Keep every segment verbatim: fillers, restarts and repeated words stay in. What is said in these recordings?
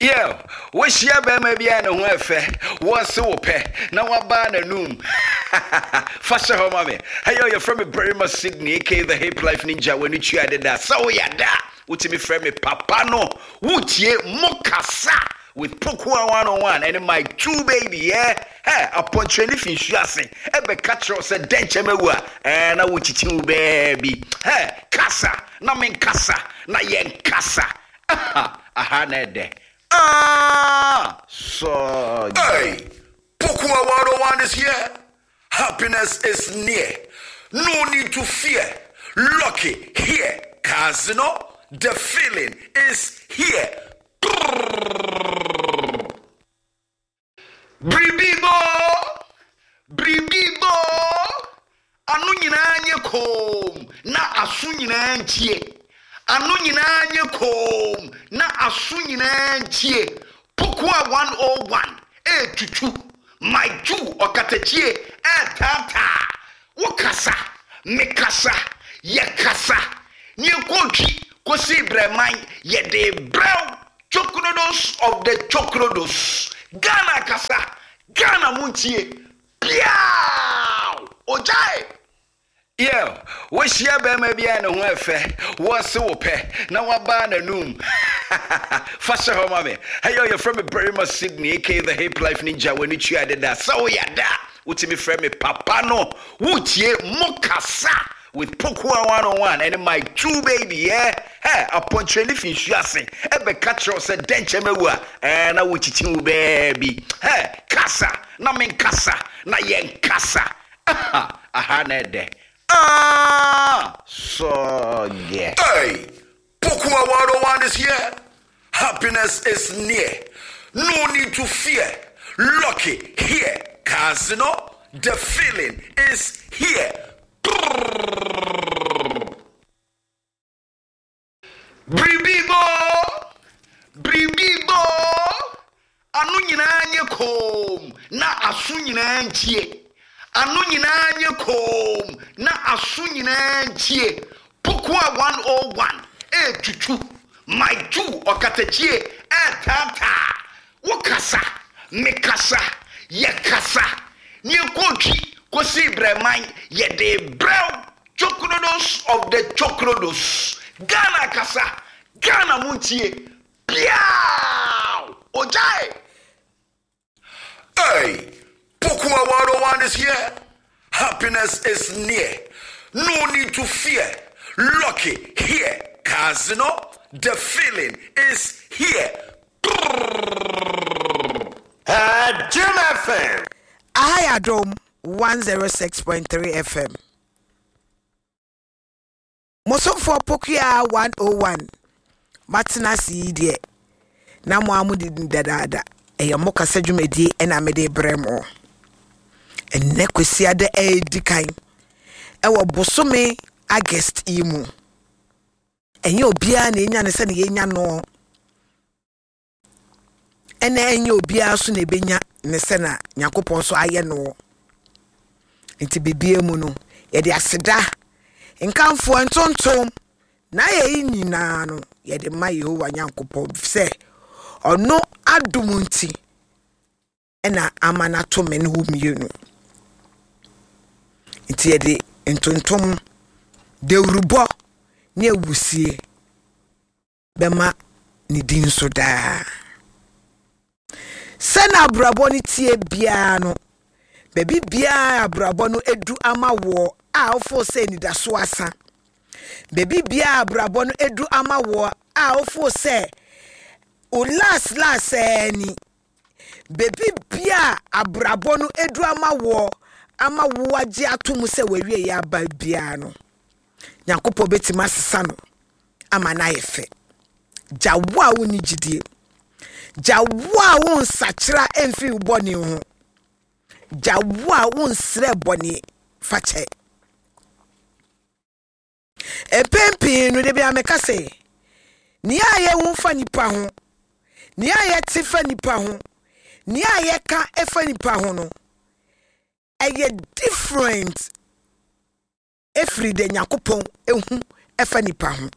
Yo, wohyia bɛrima bi a ne ho ɛfɛ, wɔse wo pɛ, na wabaa n'anum. Fa hyɛ hɔ ma me. Hey, yo, yɛfrɛ me Barima Sydney, aka the Hip Life Ninja, w'ani tua deda. Sɛ woyɛ da a, wotumi frɛ me Papa no. Wotie Mo Kasa with Pokua one oh one ɛne my two baby, yeah? Hey, apɔnkyerɛni fi nsu ase, ɛbɛka kyerɛ wo sɛ dɛnkyɛm awu a, ɛɛ, na wokyikyi wo baabi. Hey, kasa, na menkasa, na yɛnkasa. Aha, aha na ɛdɛ. Ah, so Hey, Pokua one oh one is here. Happiness is near. No need to fear. Lucky here. Cause you know, the feeling is here. Biribi bɔ, biribi bɔ, ano nyinaa nye koom na aso nyinaa ntie. Ano nyinaa nye koom na aso nyinaa ntie. Pokua one oh one etutu my two ɔkatakyie ɛɛtaataa. Wokasa, mekasa, yɛkasa ne yɛkɔtwi kɔsii brɛman yɛde brɛw chokrodos of the chokrodos. Ghana kasa, Ghana muntie piaw ogyae. Yo, wohyia bɛrima bi a ne ho ɛfɛ, wɔse wo pɛ, na wabaa n'anum. Fa hyɛ hɔ ma me. Hey, yo, yɛfrɛ me Barima Sydney, aka the Hip Life Ninja, w'ani tua deda. Sɛ woyɛ da a, wotumi frɛ me Papa no. Wotie Mo Kasa with Pokua one oh one ɛne my two baby, yeah? Hey, apɔnkyerɛni fi nsu ase, ɛbɛka kyerɛ wo sɛ dɛnkyɛm awu a, ɛɛ, na wokyikyi wo baabi. Hey, kasa, na menkasa, na yɛnkasa. Aha, aha na ɛdɛ. Ah, so yeah. Hey, Pokua one oh one is here. Happiness is near. No need to fear. Lucky here. Cause you know, the feeling is here. Biribi bɔ, biribi bɔ, ano nyinaa nye koom na aso nyinaa ntie. Ano nyinaa nye koom na aso nyinaa ntie. Pokua one oh one etutu my two ɔkatakyie ɛɛtaataa. Wokasa, mekasa, yɛkasa ne yɛkɔtwi kɔsii brɛman yɛde brɛw chokrodos of the chokrodos. Ghana kasa, Ghana muntie piaw ogyae. Hey, Pokua one oh one is here. Happiness is near. No need to fear. Lucky here. Cause you know, the feeling is here. Uh, Jim F M. Aha yɛ Adom one oh six point three F M. Mosomfoɔ Pokua one oh one matena ase yi deɛ na mo a mode dadaada ɛyɛ mo kasa dwumadie ɛna mede brɛ mo ɛnnɛ Kwasiada ɛɛdi kan ɛwɔ bosome August yi mu. Ɛnyɛ obiara na ɛnya ne sɛ ne yɛnya no, ɛna ɛnyɛ obiara so na ɛbɛnya ne sɛ na Nyankopɔn so ayɛ no. Nti bibia mu no, yɛde aseda, nkamfoɔ, ntontom na ayɛ yi nyinaa no yɛde ma Yehowa Nyankopɔn sɛ ɔno adom nti ɛna ama no ato me ne wo mmienu. Nti yɛde ntontom, dawurubɔ ne awusie bɛma ne din so daa. Sɛna abrabɔ no tie biara no, baabi biara abrabɔ no edu ama woɔ a wofo sɛ anidaso asa, baabi biara abrabɔ no edu ama woɔ a wofo sɛ o last last ɛɛ ni, baabi biara abrabɔ no edu ama woɔ ama wo agye ato mu sɛ wawie yɛ aba biara no, Nyankopɔn bɛtumi asesa no ama no ayɛ fɛ. Gya wo a wonni gyidie, gya wo a wo nsakyera mfiri wo bɔne ho, gya wo a wonsrɛ bɔne fakyɛ. Mpɛn pii no de bi ameka sɛ nea a yɛhu fa nipa ho, nea a yɛte fa nipa ho, nea a yɛka fa nipa ho no ɛyɛ different efiri de Nyankopɔn ehu ɛfa nipa ho.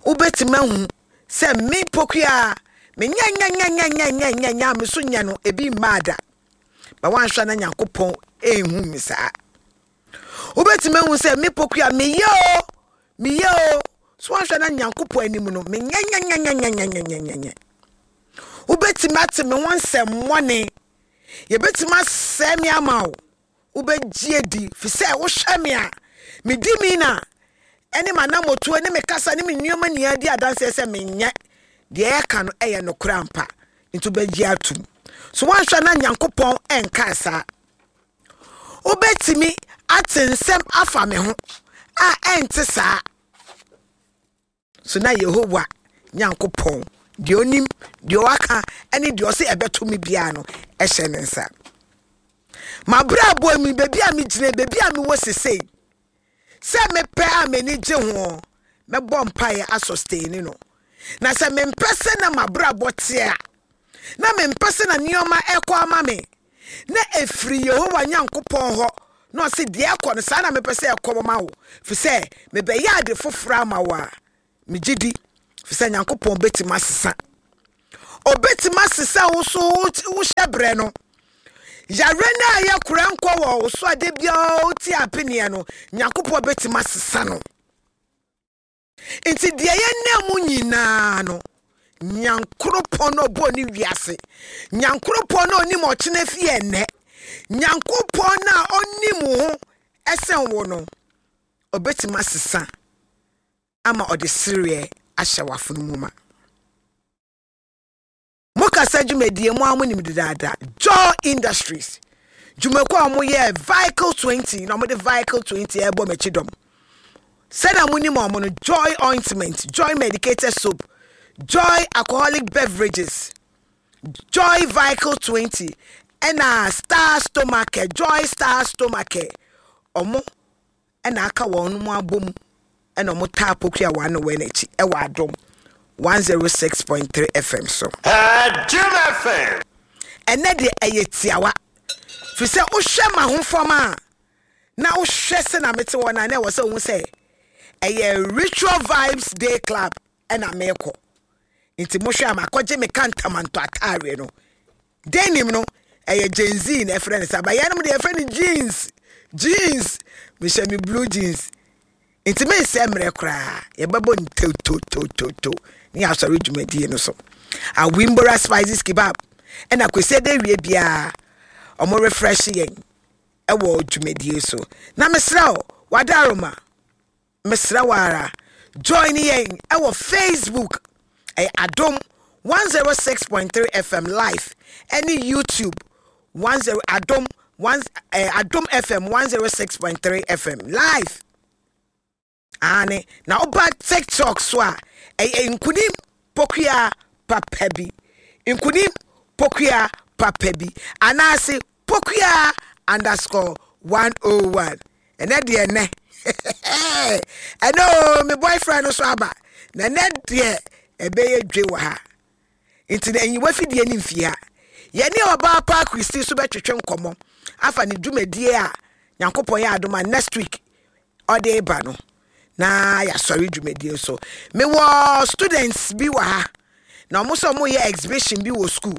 Wobɛtumi ahu Sɛ me Pokua menyɛ nyɛ nyɛ nyɛ nyɛ nyɛ nyɛ nyɛ a me so nyɛ no ebi mmaa da. Ba wanhwɛ na Nyankopɔn ɛnhu me saa. Wobɛtumi ahu sɛ me Pokua meyɛ o, meyɛ o. So wanhwɛ na Nyankopɔn anim no menyɛ nyɛ nyɛ nyɛ nyɛ nyɛ nyɛ nyɛ nyɛ. Wobɛtumi ate me ho nsɛmmɔne. Yɛbɛtumi asɛe me ama wo. Wobɛgye adi fi sɛ wohwɛ me a medi mi na ɛne m'anammɔtuo ne me kasa ne me nneɛma nyinaa di adanseɛ sɛ menyɛ deɛ ɛka no ɛyɛ nokorɛ ampa, nti wobɛgye atom. So woanhwɛ na Nyankopɔn ɛnkaa saa. Wobɛtumi ate nsɛm afa me ho a ɛnte saa. So na Yehowa Nyankopɔn deɛ onim deɛ waka ɛne deɛ ɔsɛ ɛbɛto me biara no ɛhyɛ ne nsa. Mabrɛ mu, baabi a megyina, baabi a mewɔ sesei, sɛ mepɛ a m'ani gye ho, mɛbɔ mpaeɛ asɔsteni no. Na sɛ mempɛ sɛ na mabrabɔ teɛ a, na mempɛ sɛ na nneɛma ɛkɔ ama me na ɛfiri Yehowa Nyankopɔn hɔ na ɔse deɛ ɛkɔ no saa na mepɛ sɛ ɛkɔ ma wo, fi sɛ mebɛyɛ ade foforɔ ama wo a, megye di fi sɛ Nyankopɔn bɛtumi asesa. Ɔbɛtumi asesa wo so wohyɛ berɛ no. Yare no a yɛ korɛ nkɔ wɔ wo so ade biara wote apeneɛ no, Nyankopɔn bɛtumi asesa no. Nti deɛ yɛnam mu nyinaa no, Nyankoropɔn no ɔbɔɔ ne wiase, Nyankoropɔn no ɔnim ɔkyena fie ɛnnɛ, Nyankopɔn no a ɔnim wo ho ɛsɛn wo no, ɔbɛtumi asesa ama ɔde sereɛ ahyɛ w'afono mu ma. Mokasa dwumadie mu a monim dedaada, Joy Industries dwumakuo a wɔyɛ Vehicle twenty na wɔde Vehicle twenty ɛrebɔ m'akyi dɔm. Sɛdeɛ monim ɔmo no, Joy Ointment, Joy Medicated Soap, Joy Alcoholic Beverages, Joy Vehicle twenty ɛna Star Stomach, Joy Star Stomach, ɔmo ɛna aka wɔn mo abom ɛna ɔmo taa Pokua wɔn ano wɔ n'akyi ɛwɔ Adom one oh six point three F M so. Jim F M. Ɛnɛ deɛ ɛyɛ tiawa fi sɛ wohwɛ ma ho fam a na wohwɛ sɛ na mete hɔ na na ɛwɔ sɛ wohu sɛ ɛyɛ Ritual Vibes Day Club ɛna meekɔ. Nti mohwɛ a makɔgye me kantamanto ataareɛ no. Denim no ɛyɛ Gen Z na ɛfrɛ no saa, ba yɛnom deɛ yɛfrɛ no jeans. Jeans, mehyɛ me blue jeans, nti mensɛ mmerɛ koraa yɛbɛbɔ ntototototo ne yɛasɔre dwumadie no so. Awimbora Spices Kebab ɛna Kwesi de wie biara ɔmo refresh yɛn ɛwɔ dwumadie so. Na mesrɛ wo, wadaroma, mesrɛ wo ara, join yɛn ɛwɔ Facebook, ɛyɛ Adom one oh six point three F M live, ɛne YouTube ten Adom one eh, Adom F M one oh six point three F M live ane. Na woba TikTok so a, ɛyɛ Nkunim Pokua papa bi, Nkunim Pokua papa bi, anaase Pokua underscore one oh one. Ɛnɛ deɛ, ɛnɛ ɛnɛ o, me boyfriend no so aba na ɛnɛ deɛ ɛbɛyɛ dwe wɔ ha. Nti na enyiwa fidie ne mfie ha, yɛne ɔbaa pa Kristi so bɛtwetwe nkɔmmɔ afa ne dwumadie a Nyankopɔn yɛ adom a next week ɔde ba no na yɛasɔre dwumadie so. Mewɔ students bi wɔ ha na ɔmo sɛ ɔmo yɛ exhibition bi wɔ school.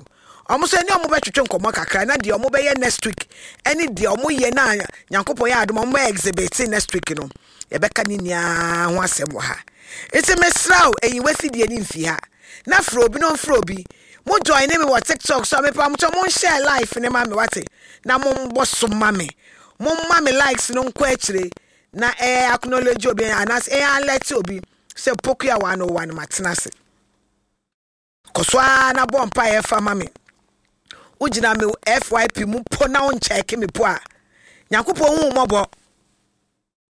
Ɔmo sɛ ne ɔmo bɛtwetwe nkɔmmɔ kakra na deɛ ɔmo bɛyɛ next week ɛne deɛ ɔmo yɛ na Nyankopɔn yɛ adom a ɔmo bɛ exhibit next week no, yɛbɛka ne nyinaa ho asɛm wɔ ha. Nti mesrɛ wo, enyiwa fidie ne mfi ha na frɛ obi na ɔmfrɛ obi. Mo join ne me wɔ TikTok so a, mepa mo kyɛ, mo nhyɛ live ne ma me wate, na mo mbɔ so ma me, mo ma me likes no nkɔ akyire na ɛyɛ acknowledge obi anaasɛ ɛyɛ alert obi sɛ Pokua one oh one matena ase. Kɔ so ara na bɔ mpaeɛ fa ma me. Wogyina me F Y P mu po na wonkyɛke me po a, Nyankopɔn hu wo mmɔbɔ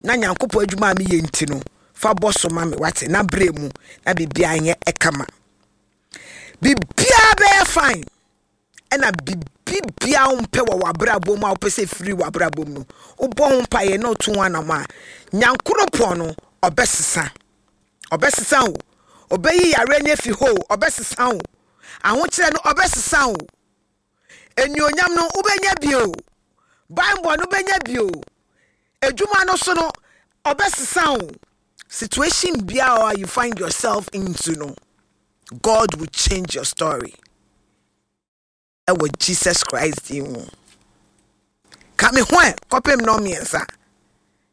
na Nyankopɔn adwuma a meyɛ nti no, fa bɔ so ma me wate, na berɛ mu na biribiara nyɛ ɛkama, biribiara bɛyɛ fine. Ɛna biribiara wompɛ wɔ w'abrabɔ mu a wopɛ sɛ firi w'abrabɔ mu no, wobɔ ho mpaeɛ na woto ho anam a, Nyankoropɔn no ɔbɛsesa. Ɔbɛsesa wo, ɔbɛyi yare no afi hɔ o, ɔbɛsesa wo ahokyerɛ no, ɔbɛsesa wo enuonyam no, wobɛnya bio, bible no wobɛnya bio, adwuma no so no ɔbɛsesa wo. Situation biara you find yourself into no. God will change your story ɛwɔ Jesus Christ din mu. Ka me ho ɛ kɔpem nnɔn mmiɛnsa,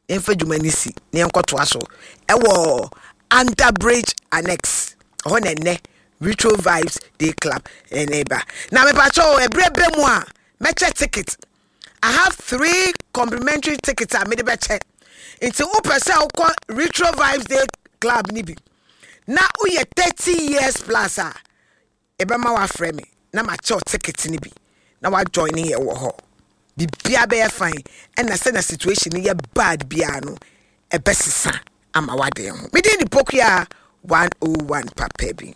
yɛmfa dwuma no si na yɛnkɔtoa so ɛwɔ Under Bridge Annex ɛhɔ na ɛnɛ Retro Vibes Day Club ɛna ɛba. Na mepakyɛ o, ɛberɛ bɛ mu a mɛkyɛ ticket. I have three complimentary tickets a mede bɛkyɛ, nti wopɛ sɛ wokɔ Retro Vibes Day Club ni bi na woyɛ thirty years plus a, ɛbɛma wafrɛ me na makyɛw ticket ni bi na wajoin yɛ wɔ hɔ. Biribiara bɛyɛ fine, ɛna sɛ na situation no yɛ bad biara no, ɛbɛsesa ama waden ho. Mede ne Pokua one oh one papa bi.